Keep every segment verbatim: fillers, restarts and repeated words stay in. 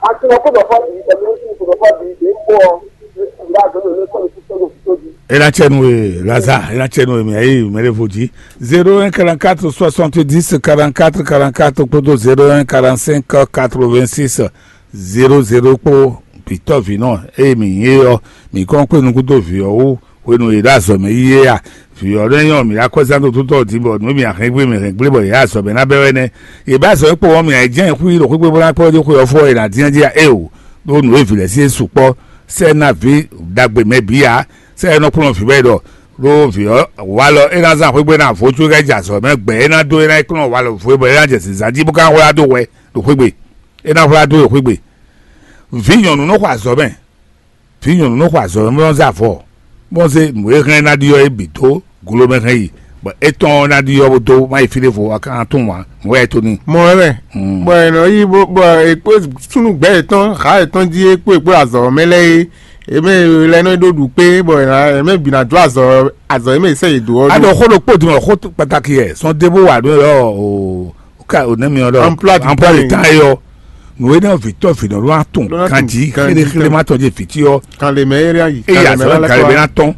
Asinɔ kó dɔ fɔ bǐ, ɛmɛ ní kó dɔ fɔ bǐ, bǐ kpó ɔ, bǐ bá gbé lórí sɔ́ ní kúkú ní kúkú jí. E na cɛ nu e, Laza, e na cɛ nu e mi ayi mɛ ɖe vo jí. Zéro un quarante-quatre soixante-dix quarante-quatre quarante-quatre kpódó zéro un quarante-cinq quatre-vingt-six zéro zéro kpó. Bitɔ vǐ nɔ eye mi nyí é ɔ́, mi kɔn kpé nukúndó vǐ ɔ́ wú hwenu e ɖo azɔ̌ mɛ yi é a? Vǐ ɔ́ nɔ nyɔ́ mǐ ɖo akwɛ́zán dó túntɔ́ din bɔ nǔ e mǐ a hɛn gbé mǐ hɛn gblé bɔ yě azɔ̌ mɛ ná bɛ́ wɛ nɛ́. Yě bɛ́ azɔ̌ e kpo wɔ́ mǐ a yi jɛ́n xwí ɖo xwé gbé bó ná kpɔ́ dó xwé ɔ́ fɔ e nǎ dín jí a? Éeǒ, ɖó nǔ e vǐ lɛ́ɛ sí e sukpɔ́. Sɛ́ ná vǐ ɖagbe mɛ bǐ ǎ. Sɛ́ e nɔ kplɔ́n vǐ wɛ ɖɔ ɖó vǐ ɔ́ walɔ é ná zán xwé gbé ná vo có é ká yi jɛ azɔ̌ mɛ gbɛ é ná dó é ná yi kplɔ́n walɔ vo é bɔ é ná jɛ zǐnzán jí bó ká hwlá dó hwɛ ɖo xwé gbe. É ná hwlá dó ɖo xwé gbe. Vǐ nyɔ̌nu nɔ xɔ azɔ̌ mɛ. Vǐ nyɔ̌nu nɔ xɔ azɔ̌ mɛ bó nɔ zé avɔ, bó nɔ zé nǔ e hɛn ná ɖi ɔ́ é bǐ dó glo mɛ hɛn yi, bɔ étɔn ɔ́ ná ɖi ɔ́ bó dó má yi fí ɖěvo, a ka ná tunwun ǎ, nǔ wɛ é to n'i. Mɔ wɛ mɛ. Bɔ è nɔ yí bó bɔ è kpó súnnu gbɛ̌ yětɔn, hǎ yětɔn jí é kpó è kpó azɔ̌ mɛ lɛ́ɛ é, è mɛ lɛ́ɛ nɔ ɖó ɖu kpé, bɔ è mɛ bǐ ná jó azɔ̌ azɔ̌ e mɛ è sɛ́ yě dó ɔ́. A ɖɔ xó ɖokpó din wɛ xó kpataki yɛ sɔn dé bó wa ɖó ɛ ɔ́ o. Ka o nɛ mi ɔ́ ɖɔ Emploi du emploi du temps. Temps yɔ. Nǔ e nɔ vǐtɔ́ vǐnɔ ló atɔn Ló atɔn kanjí kanjí xéɖé xéɖé tɔn. Ma tɔn jɛ vǐtí ɔ́. Kan le mɛ eri ayi. Eye azɔ gale bɛ na tɔn.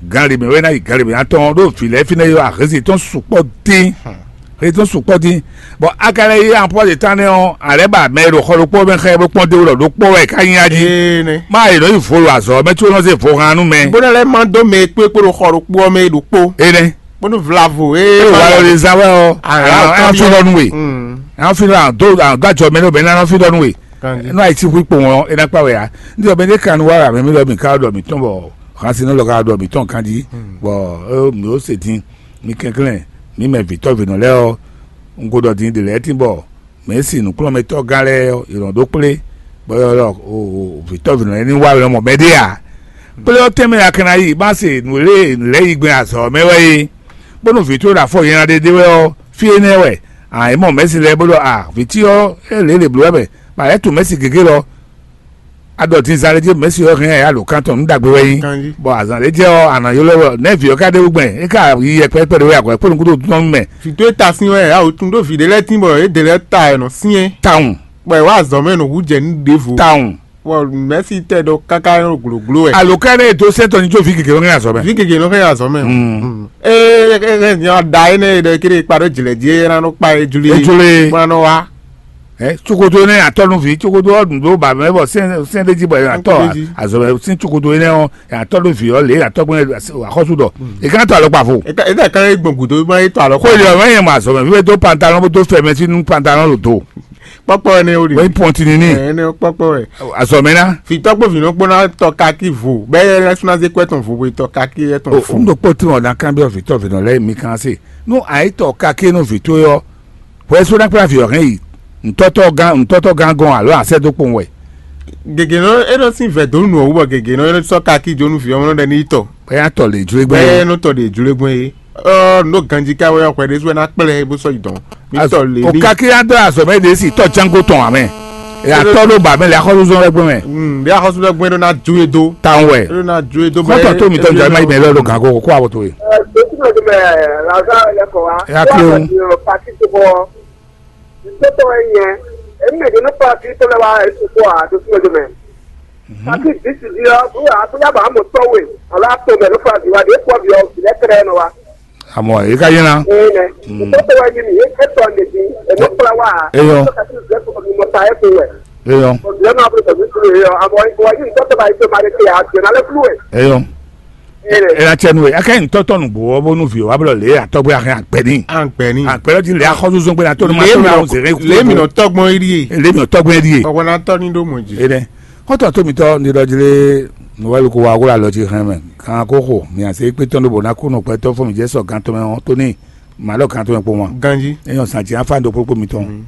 Gale mɛ wɛ na yi gale bɛ na tɔn ɖo vǐ lɛ fi nɛ yɔ ahezi tɔn sukpɔ dín. Hezi tɔn sukpɔ dín. Bɔn a ka lɛ yi emploi du temps nɛ ɔ́, alɛ ba mɛ ɖo xɔ ɖokpó mɛ xɛ bó kpɔn dé wulɔ ɖokpó wɛ ká nyi ají. Ee ne. Ma yi nɔ yi vo ɖo azɔ mɛ tso nɔ se vo hàn nú mɛ. Bó nɛ lɛ ma dó mɛ kpékpé ɖo xɔ ɖokpó ɔ́ mɛ ɖokpó. Ene. Bónú vlavo é. Eye wà lɔ lè zan wɛ ɔ. Àwọn àwọn fi lọ nu we. Àwọn fi lọ àwọn dó àwọn dó àjọ mẹ ní obìnrin náà fi lọ nu we. Ní àyè tí hu ipò wọn ẹ náà pa wẹ̀ ya. Ní ọbẹ̀ ní kanu wà rà mí lọ mí ká lọ mí tán bọ̀. Hàn sí ní lọ ká lọ mí tán kan jí. Bọ̀ ẹ mi ó sè dín. Mi kẹ́kẹ́lẹ́. Mi mẹ vǐtọ́ vǐnɔ lẹ́ ɔ. N ko dɔ dín dè lẹ́ tí bọ̀. Mɛ̌si nǔkplɔ́nmɛtɔ́gán lɛ́ɛ ɔ́, yě nɔ ɖó kplé, bɔ é ylɔ́ vǐtɔ́vǐnɔ lɛ́ɛ ní wá lɔmɔ̌ mɛ ɖé ǎ. Kplé ɔ́ tɛnmɛ a ka ná yi, má se nǔ e lɛ́ yi gbɛn azɔ̌ ɔ́ mɛ wɛ é, bónú vǐ towe ɖo afɔ nyanya ɖé ɖé wɛ ɔ́, fí énɛ́ wɛ. A é mɔ mɛ̌si lɛ́ɛ bó ɖɔ a vǐ cí ɔ́, é lě lě bló wɛ mɛ, bɔ a lɛ́ tunwun mɛ̌si gěgé lɔ. A ɖɔ din zan ɖé jí mɛ̌si ɔ́ hɛn ɛ alǒkan tɔn nǔ ɖagbe wɛ nyí. Ganjí. Bɔ azǎn ɖé jɛ ɔ́, a nǎ ylɔ́ wɛ nɛ̌ vǐ ɔ́ ka ɖe wú gbɛn, é ka yi yɛkpɛ́ kpɛɖé wɛ akwɛ́ kpó nukúnnú tɔn mɛ. Vǐ towe ta sín wɛ ǎ, o tún ɖó vǐ ɖé lɛ́ɛ tín bɔ yě ɖe lɛ́ɛ ta ɛ nɔ syɛ́n. Tawun. Bɔ è wá azɔ̌ mɛ nɔ hú jɛ nǔ ɖěvo. Tawun. Bɔ mɛ̌si tɛ ɖɔ káká nɔ glǒgló wɛ. Alǒkan énɛ́ e dó sɛ́n tɔn ní jó vǐ gěgé lɔ hɛn azɔ̌ mɛ. Vǐ gégé nɔ hɛn azɔ̌ mɛ. Mm. Ee, da énɛ́ e ɖɔ kéré kpa ɖó jlɛ̌ jí é ná nɔ kpa é jlí. É jló é. Bó ná nɔ wá. Ɛ cokoto énɛ́ atɔ́ nú vǐ, cokoto ɔ́ ɖu ɖó ba mɛ bɔ sɛn sɛn ɖé jí bɔ atɔ́ azɔ̌ mɛ sín cokoto énɛ́ ɔ́ atɔ́ nú vǐ ɔ́ lě atɔ́ gbɛn axɔ́sú ɖɔ. È ká tɔ alɔkpa vo. Eka eka kan e gbɔn gudo ma e tɔ alɔ. Xó ilé ɔ̀rọ̀ yẹn mɔ azɔ̌ mɛ fífẹ́ dó pantalon bó dó fɛmɛ sín nú pantalon ɖo do. Kpɔkpɔ ne o de. Wọ́n pɔn tini ní. Ɛ ne kpɔkpɔ wɛ. Azɔ̌ mɛ ná. Fitɔ kpó vinɔ kpó na tɔ kaki vo. Bɛ yɛ lɛ suna ze kɔ etɔn vo bo tɔ kaki etɔn O fo. N ɖo kpó tí wọn ná kan bí ɔfitɔ vinɔ lɛ mi kan se. Nú àyítɔ kaki nú vǐ towe ɔ́, hwɛ só ná kplá vǐ ɔ́ hɛn yi ntɔ́tɔ́ gán ntɔ́tɔ́ gán gɔn alo asɛ dó kpowun wɛ. Gègé nɔ e nɔ sín vɛ dó nù ɔwú bɔ gègé nɔ e nɔ sɔ kaki jó nú vǐ ɔmɔ nɔ ɖɛ ní tɔ. Bɛyá tɔ lè jlé gbé. Bɛyɛ nɔ tɔ ɖe jlé gbɔn ye. Ɔ nɔ ganji ka wɛ ɔkpɛ ɖe sɔ na kplɛ bó sɔ yi dɔn. Mi tɔ lè O ní. Kaki ya dɔ azɔ mɛ de si tɔ jango tɔn amɛ. Ya tɔ ɖo ba mɛ le akɔlu zɔn lɛ gbɔn mɛ. Ɖe axɔsu lɛ gbɔn ɖo na ju ye do. Tan wɛ. Ɖo na ju ye do. Kɔtɔ to mi tɔ jɔ ma yi mɛ lɛ lo gan ko ko abo to ye. Ɛ, dókítà tó bẹ Lazare lẹkọọ wa. Ya kí o. Pati tó bọ. Tó tọ ẹ yẹn. Èmi mẹ dènù pati tó lẹ wa ètò kó a dókítà tó mẹ. Pati disi di ọ bóyá bóyá bàá mọ tọwé. Ọlá tó mẹ ló fà bí wa dé pọ bí ọ bìlẹ tẹrẹ nọ wa. Amɔ e ka yina. Ee nɛ. Tó tọ ẹ yẹn mi ètò ẹ di èmi kpla wa. Eyɔ. Tó kà sí ìgbẹ́ kò mi mọ ta ẹ kò wẹ̀. Eyɔ. Ɔ bìlẹ náà bẹ tẹ̀sí kúrò yẹ ọ àmọ́ ìwọ yìí tó tọ́ bá yìí tó máa lè ṣe àgbẹ̀ náà lè kúrò ẹ̀. Eyɔ. Ena tsɛ nu e aka yin tɔtɔ nugbo ɔ bó nu vi o wa blɔ le atɔgbe ahin agbɛni. Agbɛni. Agbɛni ti le axɔzuzɔn gbe na tɔ nu ma tɔ na o zere ku. Le mi nɔ tɔgbɔn yi die. Le mi nɔ tɔgbɔn yi die. Ɔwɔ na tɔ ni do mɔ ji. Ene. Kɔtɔ to mi tɔ ni dɔ jile nuwɛlu ko wa wla lɔ ji hɛn mɛ kan ko xo mi ase kpe tɔn do bo na ko nɔ kpɛ tɔ fɔ mi jɛ sɔ gan tɔmɛ ɔ to ni ma lɔ gan tɔmɛ kpo ma. Ganji. Eyɔn san ti afa do kpokpo mi tɔn.